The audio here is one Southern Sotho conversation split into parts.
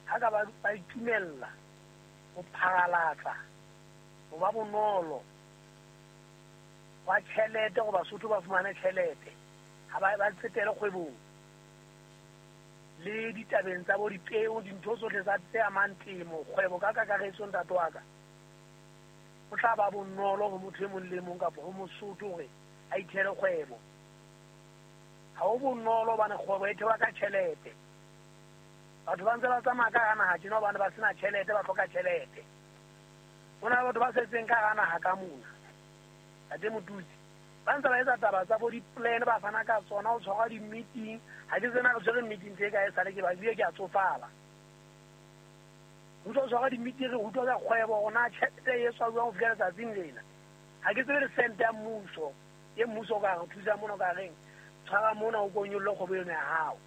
Ha ka ba itumella ho pharalatsa ho ba bonolo wa tjhelete gore Basotho ba fumane tjhelete, ha ba tsetele kgwebong le ditabeng tsa bo dipeo, dintho tsohle tsa tse amang temo, kgwebo ka kakaretso, ntate wa ka, ho tla ba bonolo ho motho e mong le mong kapa ho Mosotho hore a ithele kgwebo. Ha ho bonolo hobane kgwebo e thewa ka tjhelete. Batho ba ntse ba tsamaya ka hara naha tjena hobane ba sena tjhelete, ba hloka tjhelete. Ho na le batho ba setseng ka hara naha ka mona, Ntate Motutsi, ba ntse ba etsa taba tsa bo di-plan, ba fana ka tsona, ho tshwarwa di-meeting. Ha ke tsena re tshwere meeting tse kae sale ke ba ebile ke a tsofala. Ho tlo tshwarwa di-meeting, re utlwa ka kgwebo hore na tjhelete e etswa jwang ho fihla letsatsing lena. Ha ke tsebe le sente ya mmuso, e mmuso o ka re thusa mona, o ka reng tshwara mona o ko nyolle kgwebo eno ya hao.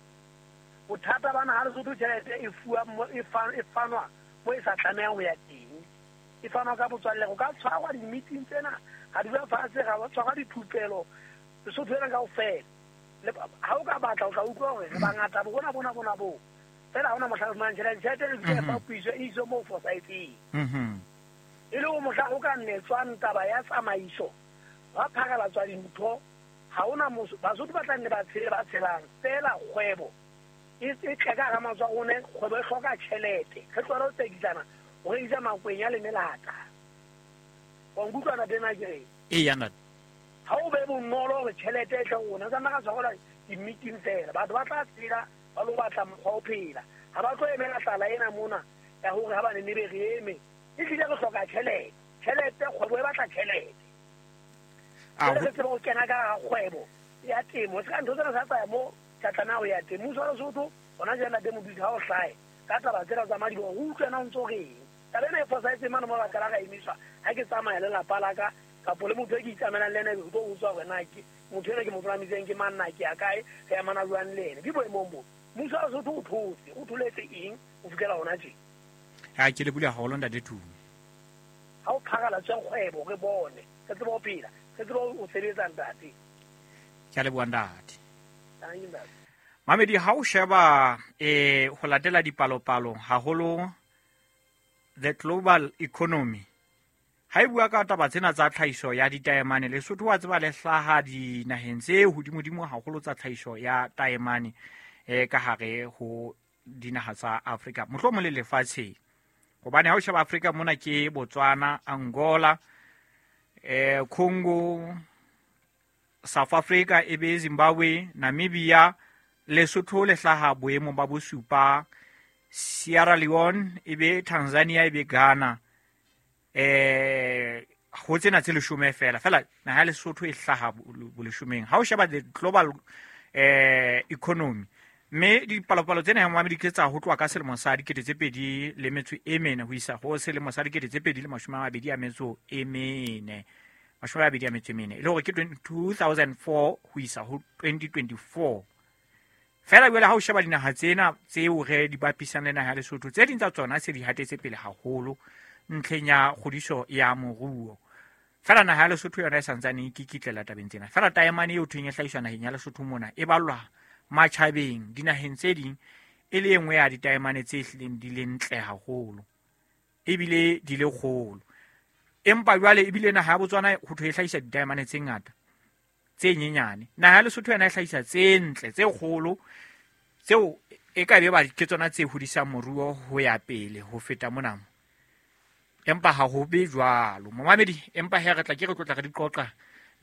Bothata ba naha Lesotho, tjhelete e fuwa e fanwa mo e sa tlamehang ho ya teng. E fanwa ka botswalle. Go ka tshwarwa di-meeting tsena, ga dula fatshe, ga tshwarwa dithupelo Lesotho ena kaofela. Ha o ka batla o tla utlwa hore re bangata bo bona bona bona bo. Fela ha hona mohla re fumanang tjhelete, tjhelete re fihla e fapohiswe e iswe moo fosahetseng. E le hore mohla ho ka netswang taba ya tsamaiso, hwa pharalatswa dintho, ha hona Basotho ba tla nne ba tshele ba tshelang. Fela kgwebo e tle ka hara matsoho a rona, kgwebo e hloka tjhelete. Re tlohele ho tsekisana, ho rekisa makwenya le melata. Wa nkutlwa ntate na ke reng? Eya ntate. Ha o be bonolo hore tjhelete e tle ho rona, re ka nna ra tshwarelwa di-meeting fela. Batho ba tla tshela ba lo batla mokgwa o phela. Ha ba tlo emela tlala ena mona ya hore ha ba ne be re eme. Ehlile re hloka tjhelete. Tjhelete, kgwebo e batla tjhelete. Jwale re tsebe ho kena ka hara kgwebo ya temo. Se ka ntho tsena sa tsaya mo tsa tlameha ho ya teng. Mmuso wa Lesotho hona jwale ntate Modudi ha o hlahe ka taba tsena tsa madiboho, re utlwe na o ntso reng. Taba ena e fosahetseng mane mo ra qala ra emiswa ha ke tsamaya le lapa la ka kapo le motho e ke itsamaelang le ena, ebe re tlo utswa hore na ke motho ena ke mo palamiseng ke mang, na ke ya kae, re amana jwang le ena. Ke boemong bo. Mmuso wa Lesotho o thotse, o tholetse eng ho fihlela hona tje? Ha ke le bula haholo ntate Tumi. Ha o pharalatse kgwebo re bone, re tsebe ho phela, re tsebe ho sebetsa ntate. Ke a leboha ntate. Mamedi, ha o sheba ho latela dipalopalo haholo the global economy, ha e bua ka taba tsena tsa tlhahiso ya ditaemane, Lesotho wa tseba le hlaha dinaheng tse hodimodimo haholo tsa tlhahiso ya taemane ka hare ho dinaha tsa Afrika, mohlomong le lefatsheng. Hobane ha o sheba Afrika mona ke Botswana, Angola, Congo, South Africa, e be Zimbabwe, Namibia, Lesotho le hlaha boemong ba bosupa, Sierra Leone, e be Tanzania, e be Ghana. Ho tsena tse leshome fela, fela naha ya Lesotho e hlaha boleshomeng. Ha o sheba the global economy, mme dipalopalo tsena ya Mohammed ke tsa ho tloha ka selemo sa dikete tse pedi le metso e mene ho isa ho selemo sa dikete tse pedi le mashome a mabedi a metso e mene. Mashome a mabedi a metso e mene. E le hore ke 2004 ho isa ho 2024. Fela jwale ha o sheba dinaha tsena tseo re di bapisang le naha ya Lesotho, tse ding tsa tsona se di hatetse pele haholo ntlheng ya kgodiso ya moruo. Fela naha ya Lesotho yona e santsane e kikitlela tabeng tsena. Fela taemane eo thweng e hlahiswa naheng ya Lesotho mona e ballwa matjhabeng dinaheng tse ding e le e nngwe ya ditaemane tse hlileng di le ntle haholo ebile di le kgolo. Empa jwale ebile naha ya Botswana ho thwe e hlahisa ditaemane tse ngata tse nyenyane. Naha ya Lesotho yona e hlahisa tse ntle tse kgolo tseo e ka be ba ke tsona tse hodisang moruo ho ya pele ho feta mona. Empa ha ho be jwalo. Momamedi, empa he re tla ke re tlotla re di qoqa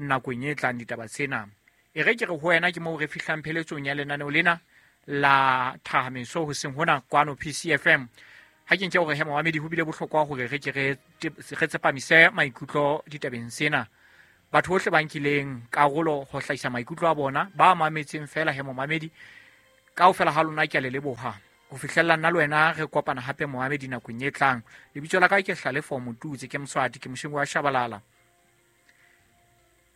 nakong e tlang ditaba tsena. E re ke re ho wena ke moo re fihlang pheletsong ya lenaneo lena la Thahameso hoseng hona kwano PCFM. Ha ke nke hore he momamedi ho bile bohlokwa hore re ke re tsepamise maikutlo ditabeng tsena. Batho bohle ba nkileng karolo ho hlahisa maikutlo a bona, ba mametseng fela he momamedi, kaofela ha lona ke a le leboha. Ho fihlella nna le wena re kopana hape momamedi nakong e tlang. Lebitso la ka ke Hlalefo Motutsi, ke Moswati, ke Moshingo wa Shabalala.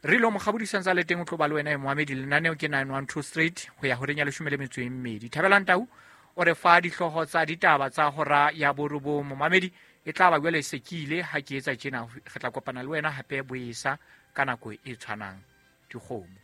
Re lo mokgabodisang tsa le teng o tlo ba le wena e momamedi. Lenaneo ke 912 Street ho ya horeng ya leshome le metso e mmedi. Thabelang Tau o re fa dihlooho tsa ditaba tsa hora ya borobong. Momamedi e tla ba jwale se ke ile ha ke etsa tjena, re tla kopana le wena hape boesa ka nako e tshwanang. Dikgomo.